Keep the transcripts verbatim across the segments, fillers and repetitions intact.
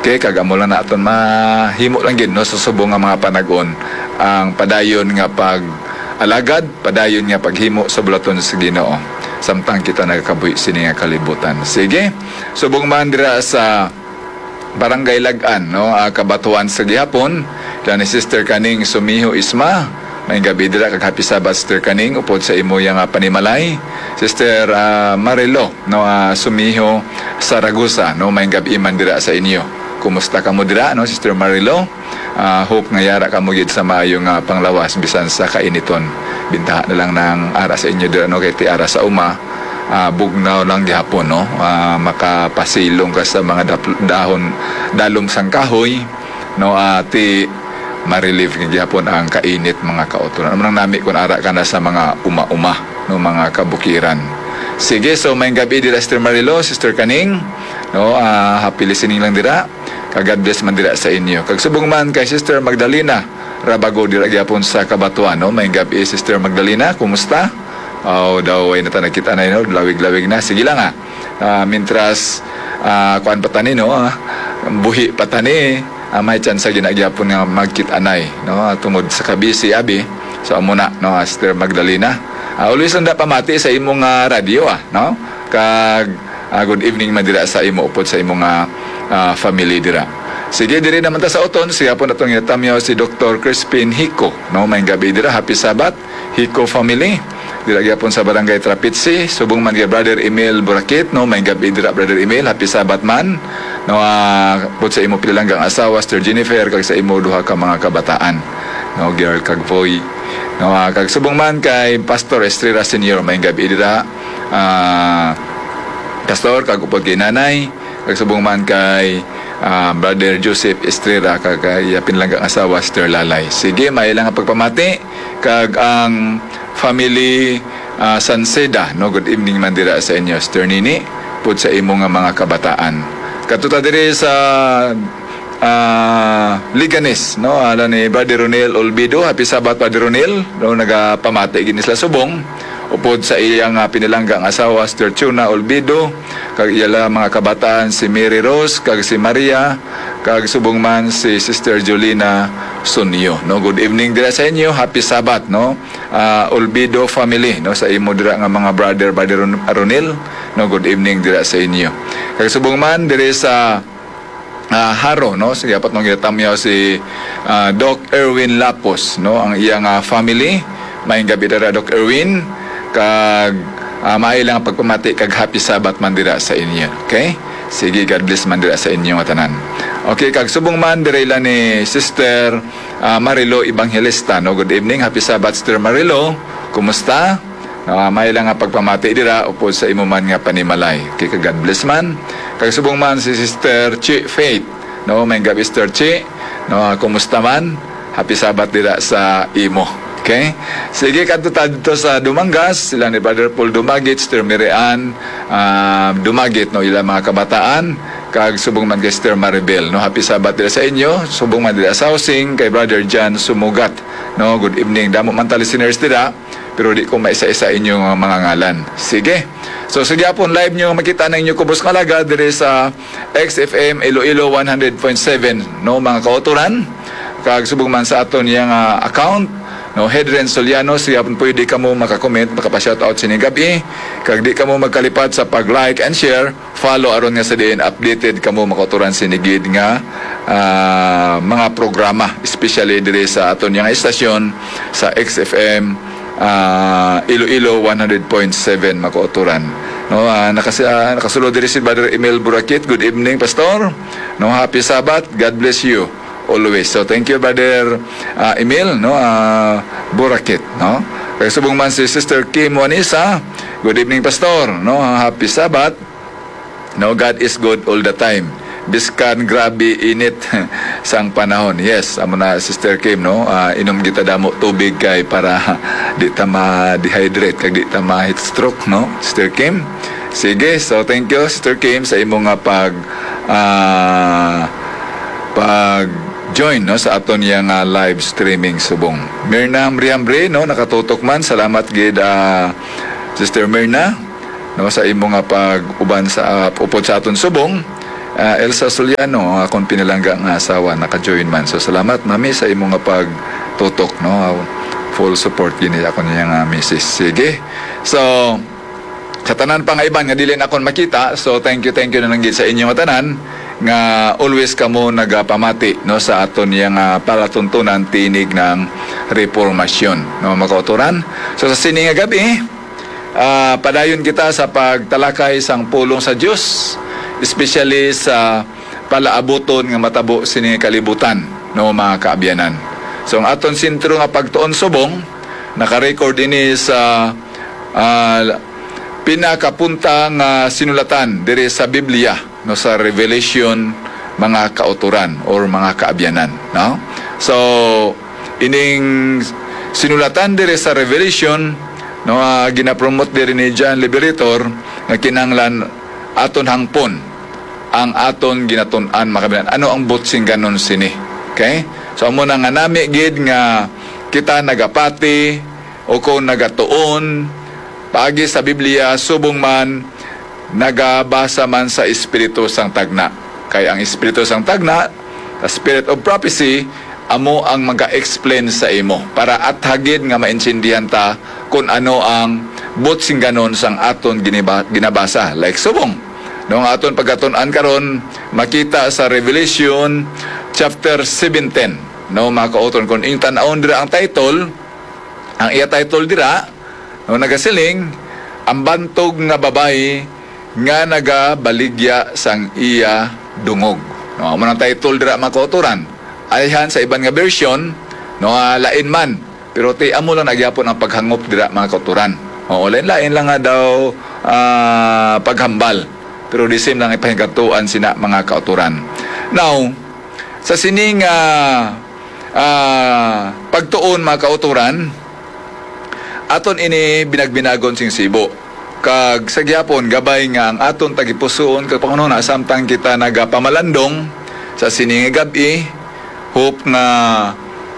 Okay, kag amo lang na aton mahimo lang gid, no, sa subong nga mga panag-on, ang padayon nga pag-alagad, padayon nga paghimo sa bulaton sa Ginoo, samtang kita nagakabuhi sini nga kalibutan. Sige, subong man dira sa Barangay Lagan, no, ah, Cabatuan sa gihapon, dira ni Sister Kaning Sumiho Isma. Maayong gabi dira kag happy Sabbath, Sister Kaning, upod sa imo yang, ah, panimalay. Sister, ah, Marilo, no, ah, Sumiho Saragosa, no, maayong gabi man dira sa inyo. Kumusta kamo dira, no, Sister Marilo? Ah, hope nga yara kamo gid sa maayo nga panglawas bisan sa kainiton. Bintaha na lang nang ara sa inyo dira, no, kay ti ara sa uma, ah, bugnaw lang gihapon, no? Ah, makapasilong ka sa mga dap-, dahon, dalom sang kahoy, no? Ah, ti ma-relieve nga gihapon ang kainit, mga kautoran. Amo nang nami kung ara ka na sa mga uma-uma, no, mga kabukiran. Sige, so maayong gabi dira, Sister Marilo, Sister Kaning, no? Ah, happy listening lang dira. Kag God bless man dira sa inyo. Kag subong man kay Sister Magdalena Rabago dira gyapon sa Cabatuan, no? Maayong gabi, Sister Magdalena, kumusta? Aw, daw way na ta nagkita na, no? Lawig-lawig na. Sige lang, ah. Ah, mintras, ah, kuan pa tani, no? Ah, buhi pa tani, ah, may tsansa gina gyapon nga magkita anay, no? Tungod sa kabisi, abi. So, amo na, no, Sister Magdalena. Ah, always lang da pamati sa imong, ah, radyo, ah, no? Kag, ah, good evening man dira sa imo upod sa imo nga, ah, family dira. Sige, diri naman ta sa uton, siya po natong ginatamyaw si Doktor Crispin Hico, no? Maayong gabi dira, happy Sabbath, Hico family. Dira gyapon sa Barangay Trapitsi, subong man kay Brother Emil Burakit, no? Maayong gabi dira, Brother Emil, happy Sabbath man. No, ah, pud sa imo pinalanggang asawa, Sister Jennifer, kag sa imo duha ka mga kabataan, no? Girl kag boy. No, ah, kag subong man kay Pastor Estrella Senior, maayong gabi dira. Ah, Pastor, kag upod kay Nanay, kag subong man kay, ah, Brother Joseph Estrella, kag, ah, iya pinalanggang asawa, Sister Lalay. Sige, may lang ang pagpamati, kag ang family, ah, Sanceda, no? Good evening man dira sa inyo, Sister Nini, pud sa imo nga mga kabataan. Kadto ta diri sa, ah, Leganes, no? Ala ni Brother Ronel Olbido. Happy Sabbath, Brother Ronel. No, nagapamati gid ni sila subong. Upod sa iyang, ah, pinalanggang asawa, Sister Chuna Olbido, kag iyala mga kabataan, si Mary Rose, kag si Maria, kag subong man si Sister Jolina Sunyo. No, good evening dira sa inyo. Happy Sabbath, no? Ah, Olbido family, no, sa imo dira nga mga brother, Brother Ron-, Ronil, no, good evening dira sa inyo. Kag subong man diri sa, ah, Jaro, no, sige, apat nung ginatamyaw si, ah, Doc Erwin Lapos, no, ang iyang, ah, family. Maayong gabi dira, Doc Erwin, kag, ah, maayo lang ang pagpamati kag happy Sabbath man dira sa inyo. Okay? Sige, God bless man dira sa inyo nga tanan. Okay, kag subong man dira ila ni Sister, ah, Marilo Evangelista, no? Good evening, happy Sabbath, Sister Marilo. Kumusta? No, ah, may lang nga pagpamati dira upod sa imo man nga panimalay. Okay, kag God bless man. Kag subong man si Sister Chi Faith, no? Maayong gabi, Sister Chi. No, ah, kumusta man? Happy Sabbath dira sa imo. Okay? Sige, kadto ta dito sa Dumangas, sila ni Brother Paul Dumagit, Sister Mary Ann, ah, Dumagit, no, ila mga kabataan, kag subong man kay Sister Maribel, no? Happy Sabbath dira sa inyo, subong man dira sa housing, kay Brother John Sumugat, no? Good evening. Damo man ta listeners dira, pero di ko maisa-isa inyo nga mga ngalan. Sige. So, sa gihapon, live nyo makita na inyo kubos nga laga diri sa X F M Iloilo one hundred point seven, no, mga kautoran. Kag subong man sa aton yang, ah, account, no, Hedren Soliano, sa gihapon pwede kamo maka-comment, makapa-shoutout sini gabi. Kag di kamo magkalipat sa pag-like and share, follow aron nga sa diin updated kamo makautoran sini gid nga, ah, mga programa, especially diri sa aton yang istasyon sa X F M, ah, Iloilo one hundred point seven, makautoran. No, ah, nakasi-, ah, nakasulod diri si Brother Emil Burakit. Good evening, Pastor. No, happy Sabbath. God bless you always. So, thank you, Brother, ah, Emil, no, ah, Burakit, no. Kay subong man si Sister Kim Wanisa. Good evening, Pastor. No, happy Sabbath. No, God is good all the time. Biskan grabe init sang panahon. Yes, amo na, Sister Kim, no? Ah, inom kita damo tubig kay para di ta ma-dehydrate kag di ta ma-heat stroke, no? Sister Kim. Sige, so thank you, Sister Kim, sa imo nga pag, ah, pag-join, no, sa aton yang, ah, live streaming subong. Mirna Hambre-Hambre, no, nakatutok man. Salamat gid, ah, Sister Mirna, no, sa imo nga pag-uban sa, ah, upod sa aton subong. Ah, Elsa Soliano, akon pinalangga nga asawa, naka-join man. So, salamat, Mami, sa imo nga pagtutok, no? Ah, full support gini ako niya nga misis. Sige. So, sa tanan pa nga iban nga dili na akon makita, so thank you, thank you na lang gid sa inyo nga tanan nga always kamo nagapamati, no, sa aton niya nga palatuntunan tinig ng reformasyon, no, mga kauturan. So, sa sini nga gabi, ah, padayon kita sa pagtalakay sang pulong sa Dios, especially sa palaabuton nga matabo sini nga kalibutan, no, mga kaabyanan. So, ang aton sentro nga pagtuon subong, naka-record ini sa, ah, pinakapunta nga sinulatan diri sa Biblia, no, sa Revelation, mga kauturan or mga kaabyanan, no? So, ining sinulatan diri sa Revelation, no, ah, ginapromote diri ni John Liberator nga kinahanglan aton hangpon ang aton ginatun-an, mga kaabyanan. Ano ang buot singganon sini? Okay? So, amo na nga nami gid nga kita nagapati o kung nagatuon paagi sa Biblia, subong man nagabasa man sa espiritu sang tagna. Kay ang espiritu sang tagna, the spirit of prophecy, amo ang maga-explain sa imo para athagid nga maintindihan ta kung ano ang buot singganon sang aton giniba-, ginabasa. Like subong, no, ang aton pagkatun-an karon makita sa Revelation chapter seventeen, no, mga kauton. Kung inyong tan-awon dira ang title, ang iya title dira, no, nagasiling, "Ang bantog nga babayi nga nagabaligya sang iya dungog." No, amo nang title dira, mga kauturan. Ayhan sa iban nga version, no, ah, lain man. Pero ti amo lang na gyapon ang paghangop dira, mga kauturan. Oo, lain-lain lang nga daw, ah, paghambal. Pero the same lang ipahigatuan sina, mga kauturan. Now, sa sining, ah, ah, pagtuon, mga kauturan, aton ini binagbinagon sing sibo. Kag sa gihapon, gabay nga ang aton tagipusoon kag panghunahuna samtang kita nagapamalandong sa sini nga gab-i, hope nga,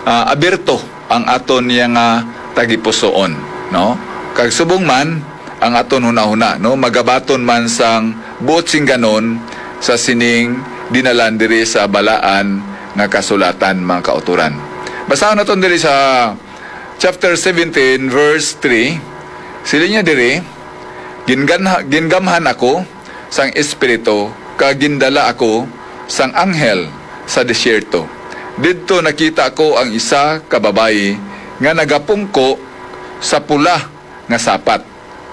ah, abierto ang aton niya nga tagipusoon, no? Kag subong man ang aton hunahuna, no, magabaton man sang buot singganon sa sining dinalan diri sa balaan nga kasulatan, mga kauturan. Basahon naton diri sa chapter seventeen, verse three. Siling niya diri, "Ginganha-, gingamhan ako sang Espiritu, kag gindala ako sang anghel sa desierto. Didto nakita ko ang isa ka babayi nga nagapungko sa pula nga sapat."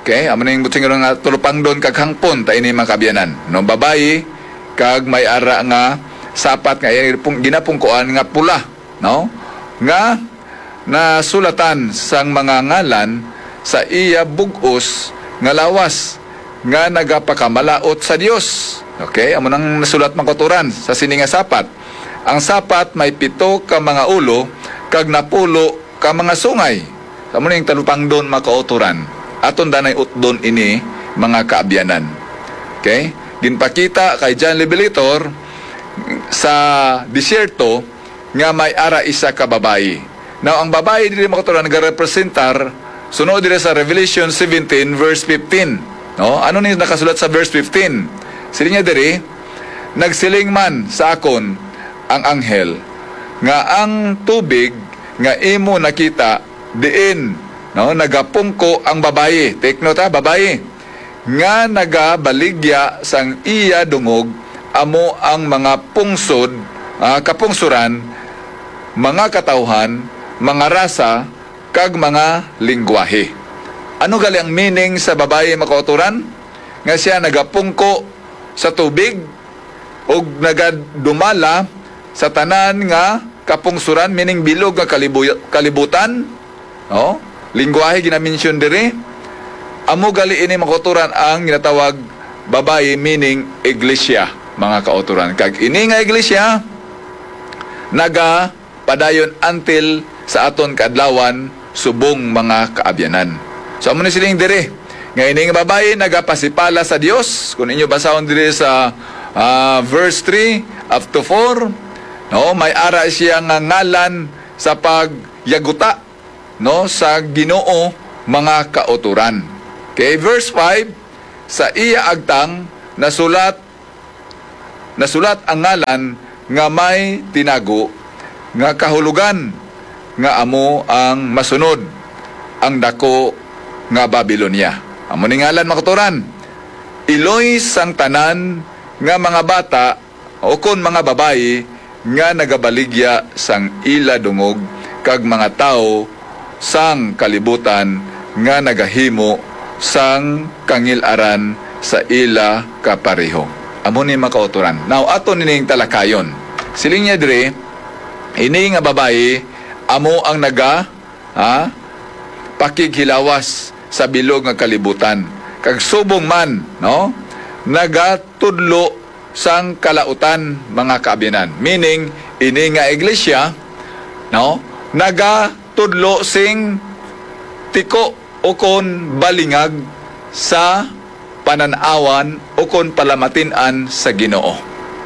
Okay, amo ning buot singganon nga tulupangdon kag hangpon ta ini, mga kaabyanan. No, babayi kag may ara nga sapat nga iya pung-, ginapungkuan nga pula, no? Nga nasulatan sang mga ngalan sa iya bug-os nga lawas nga nagapakamalaut sa Dios. Okay, amo nang nasulat, mga kauturan, sa sini nga sapat. Ang sapat may pito ka mga ulo kag napulo ka mga sungay. Amo ning talupangdon, mga kauturan. Aton danay utdon ini, mga kaabyanan. Okay? Ginpakita kay John Revelator sa desierto nga may ara isa ka babayi. Now, ang babayi diri, mga kauturan, nagarepresentar, suno diri sa Revelation seventeen, verse fifteen. No? Ano ni nakasulat sa verse fifteen? Siling niya diri, "Nagsiling man sa akon ang anghel nga ang tubig nga imo nakita diin, no, nagapungko ang babayi." Take note, ha, babayi. "Nga nagabaligya sang iya dungog amo ang mga pungsod, ah, kapungsuran, mga katawhan, mga rasa, kag mga linggwahe." Ano gali ang meaning sa babayi, mga kauturan? Nga siya nagapungko sa tubig ug nagadumala sa tanan nga kapungsuran, meaning bilog nga kalibu-, kalibutan, no? Linggwahe ginamention diri. Amo gali ini, mga kauturan, ang ginatawag babayi, meaning iglesia, mga kauturan. Kag ini nga iglesia, naga padayon until sa aton kaadlawan, subong, mga kaabyanan. So, amo ni siling diri, nga ini nga babayi nagapasipala sa Dios. Kung inyo basahon diri sa, ah, verse three up to four, no, may ara siya nga ngalan sa pagyaguta, no, sa Ginoo, mga kauturan. Okay, verse five, sa iya agtang nasulat nasulat ang ngalan nga may tinago nga kahulogan nga amo ang masunod, ang dako nga Babilonia. Amo ni ngalan, mga kauturan, iloy sang tanan nga mga bata ukon mga babayi nga nagabaligya sang ila dungog kag mga tawo sang kalibutan nga nagahimo sang kangil-aran sa ila kapareho. Amo ni, mga kauturan. Now, ato nining talakayon. Siling niya diri, ini nga babayi amo ang naga, ha, pakighilawas sa bilog nga kalibutan. Kag subong man, no, nagatudlo sang kalautan, mga kaabyanan. Meaning, ini nga iglesia, no, nagatudlo sing tiko ukon balingag sa panan-awan ukon palamatin-an sa Ginoo.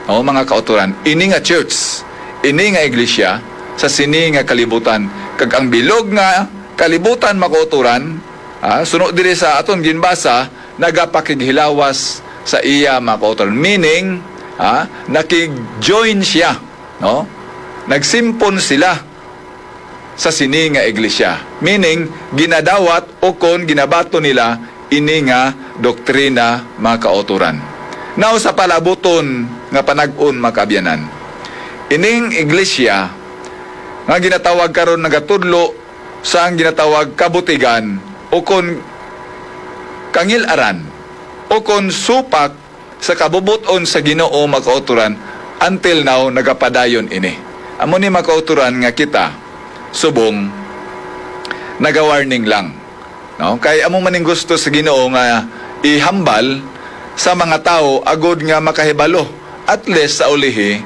O, mga kauturan, ini nga church, ini nga iglesia sa sini nga kalibutan, kag ang bilog nga kalibutan, mga kauturan, ah, suno diri sa aton ginbasa, nagapakighilawas sa iya, mga kauturan. Meaning, ah, nakig-join siya, no? Nagsimpon sila sa sini nga iglesia. Meaning, ginadawat ukon ginabaton nila ini nga doktrina, mga kauturan. Now, sa palabuton nga panag-on, mga kaabyanan, ining iglesia nga ginatawag karon nagatudlo sa ang ginatawag kabutigan ukon kangil-aran ukon supak sa kabubot-on sa Ginoo, mga kauturan, until now, nagapadayon ini. Amo ni, mga kauturan, nga kita subong naga-warning lang, no? Kay amo man ning gusto sa Ginoo nga ihambal sa mga tawo agod nga makahibalo, at least sa ulihi,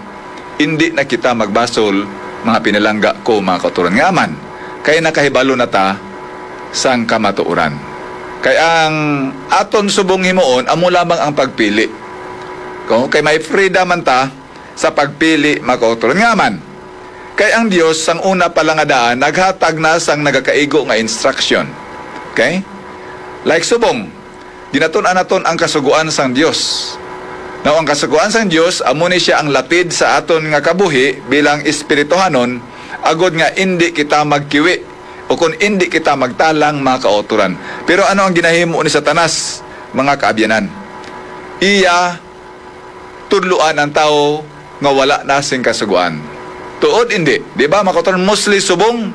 indi na kita magbasol, mga pinalangga ko, mga kauturan. Nga man, kay nakahibalo na ta sang kamatuoran. Kay ang aton subong himuon amo lamang ang pagpili. Kung kay may freedom man ta sa pagpili, mga kauturan. Nga man, kay ang Dios sang una pa lang nga daan naghatag na sang nagakaigo nga instruction. Okay? Like subong, ginatun-an naton ang kasugoan sang Dios. Now, ang kasugoan sang Dios, amo ni siya ang lapid sa aton nga kabuhi bilang espirituhanon, agod nga indi kita magkiwi o kung indi kita magtalang, mga kauturan. Pero ano ang ginahimo ni Satanas, mga kaabyanan? Iya tudloan ang tawo nga wala na sing kasugoan. Tuod, indi. Di ba, mga kauturan, mostly subong,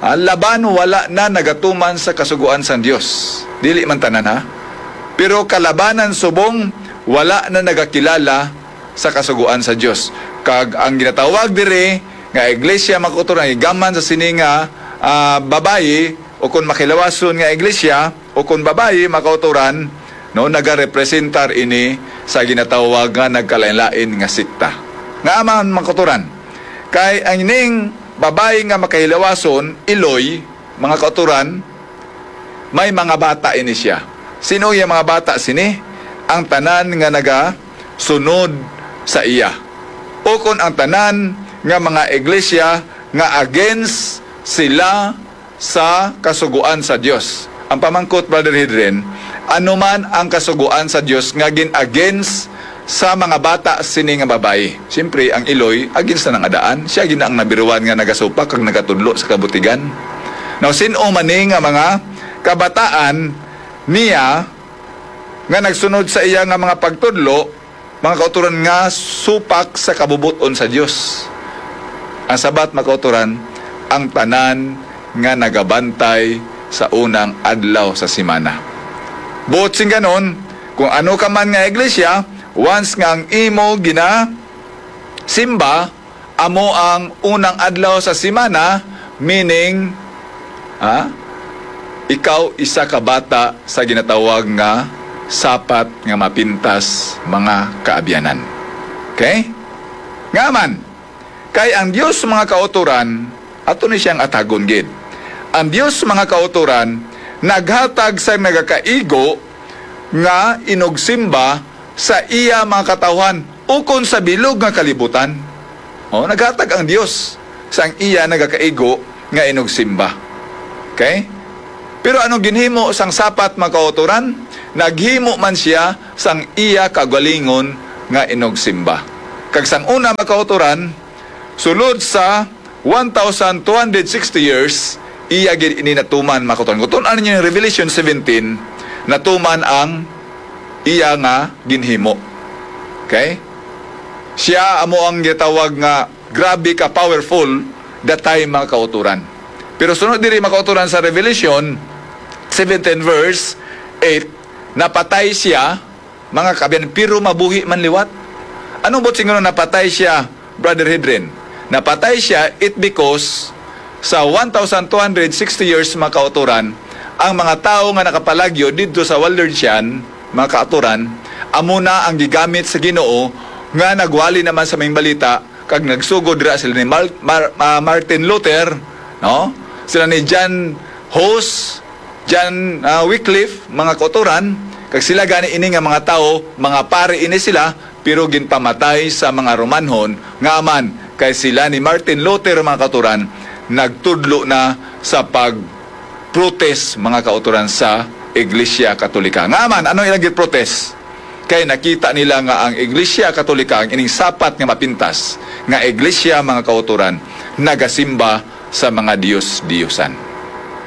ah, laban wala na nagatuman sa kasugoan sang Dios. Dili man tanan, ha? Pero kalabanan subong wala na nagakilala sa kasugoan sa Dios. Kag ang ginatawag diri nga iglesia, mga kauturan, ang igaman sa sini nga, ah, babayi, o kung makilawason nga iglesia, o kung babayi, mga kauturan, no, nagarepresentar ini sa ginatawag nga nagkalain-lain nga sekta. Nga man, mga kauturan, kay ang ining babayi nga makahilawason, iloy, mga kauturan, may mga bata ini siya. Sino yung mga bata sini? Ang tanan nga nagasunod sa iya. O kung ang tanan nga mga iglesia nga against sila sa kasugoan sa Dios. Ang pamangkot, Brother Hedren, ano man ang kasugoan sa Dios nga gin-against sa mga bata sini nga babayi? Siyempre, ang iloy, against na nang adaan. Siya gina ang nabiruan nga nagasupak kag nagatudlo sa kabutigan. Now, sin-o man ni nga mga kabataan niya nga nagsunod sa iya nga mga pagtudlo, mga kauturan, nga supak sa kabubot-on sa Dios? Ang sabat, mga kauturan, ang tanan nga nagabantay sa unang adlaw sa semana. Buot sing ganon, kung ano ka man nga iglesia, once nga ang imo ginasimba amo ang unang adlaw sa semana, meaning, ha, ikaw isa ka bata sa ginatawag nga sapat nga mapintas, mga kaabyanan. Okay? Nga man, kay ang Dios, mga kauturan, ato ni siyang atagon gid. Ang Dios, mga kauturan, naghatag sa nagakaigo nga inugsimba sa iya mga katawhan ukon sa bilog nga kalibutan. O, naghatag ang Dios sang iya nagakaigo nga inugsimba. Okay? Pero anong ginhimo sang sapat, mga kauturan? Naghimo man siya sang iya kaugalingon nga inugsimba. Kag sang una, mga kauturan, sulod sa one thousand two hundred sixty years, iya gid ini natuman, mga kauturan. Kung tun-an ninyo yung Revelation seventeen, natuman ang iya nga ginhimo. Okay? Siya amo ang gitawag nga grabe ka powerful that time, mga kauturan. Pero sunod diri, mga kauturan, sa Revelation seventeen verse eight, napatay siya, mga kaabyan, pero mabuhi man liwat. Anong buot silingon napatay siya, Brother Hedren? Napatay siya, it because sa one thousand two hundred sixty years, mga kauturan, ang mga tawo nga nakapalagyo didto sa Waldensian, mga kauturan, amo na ang gigamit sa Ginoo nga nagwali naman sa maayong balita, kag nagsugod dira sila ni Mar-, Mar-, ah, Martin Luther, no? Sila ni John Hus, John, ah, Wycliffe, mga kauturan, kag sila gani ini nga mga tawo, mga pari ini sila, pero ginpamatay sa mga Romanhon, nga man kay sila ni Martin Luther, mga kauturan, nagtudlo na sa pag-protest, mga kauturan, sa Iglesia Katolika. Nga man, ano ilang gin-protest? Kay nakita nila nga ang Iglesia Katolika, ang ining sapat nga mapintas nga iglesia, mga kauturan, nagasimba sa mga dios-diyosan.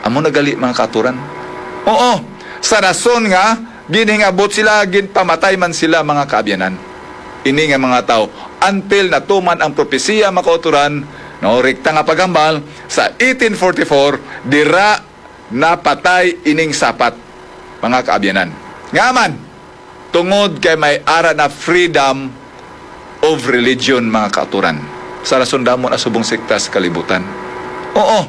Amo na gali, mga kauturan. Oo, sa rason nga ginhingabot sila, ginpamatay man sila, mga kaabyanan. Ini nga mga tawo, until natuman ang propesiya, mga kauturan, no, rekta nga paghambal, sa eighteen forty-four, dira napatay ining sapat, mga kaabyanan. Nga man, tungod kay may ara na freedom of religion, mga kauturan, sa rason damo na subong sekta sa kalibutan. Oo,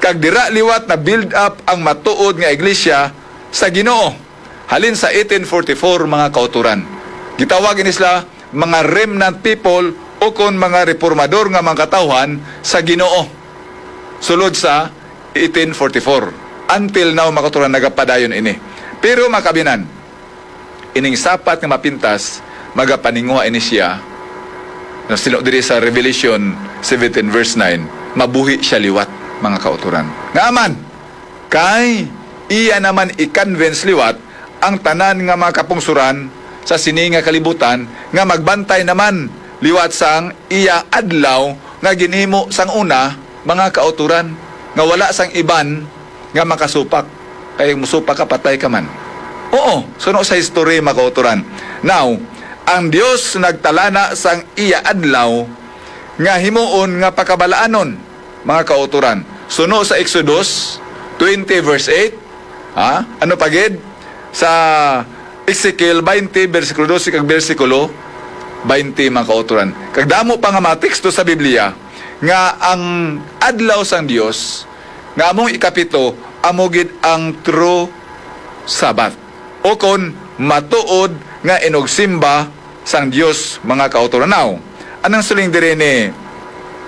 kag dira liwat na build up ang matuod nga iglesia sa Ginoo. Halin sa eighteen forty-four, mga kauturan, gitawag ini sila mga remnant people, o kon mga reformador nga mga katawhan sa Ginoo, sulod sa eighteen forty-four. Until now, mga kauturan, nagapadayon ini. Pero, mga kaabyanan, ining sapat nga mapintas, magapaninguha ini siya, na sino diri sa Revelation seventeen verse nine, mabuhi siya liwat, mga kauturan. Nga man, kay iya naman i-convince liwat ang tanan nga mga kapungsoran sa sini nga kalibutan, nga magbantay naman liwat sang iya adlaw nga ginhimo sang una, mga kauturan, nga wala sang iban nga makasupak. Kay musupak ka, patay ka man. Oo, suno sa history, mga kauturan. Now, ang Dios nagtalana sang iya adlaw nga himuon nga pakabalaanon, mga kauturan. Suno sa Exodus twenty verse eight, ha? Ano pa gid? Sa Ezekiel twenty, bersikulo dose kag bersikulo twenty, mga kauturan. Kag damo pa nga mga teksto sa Biblia nga ang adlaw sang Dios nga among ikapito amo gid ang true Sabbath, o kon matuod nga inugsimba sang Dios, mga kauturan. Now, anong siling diri ni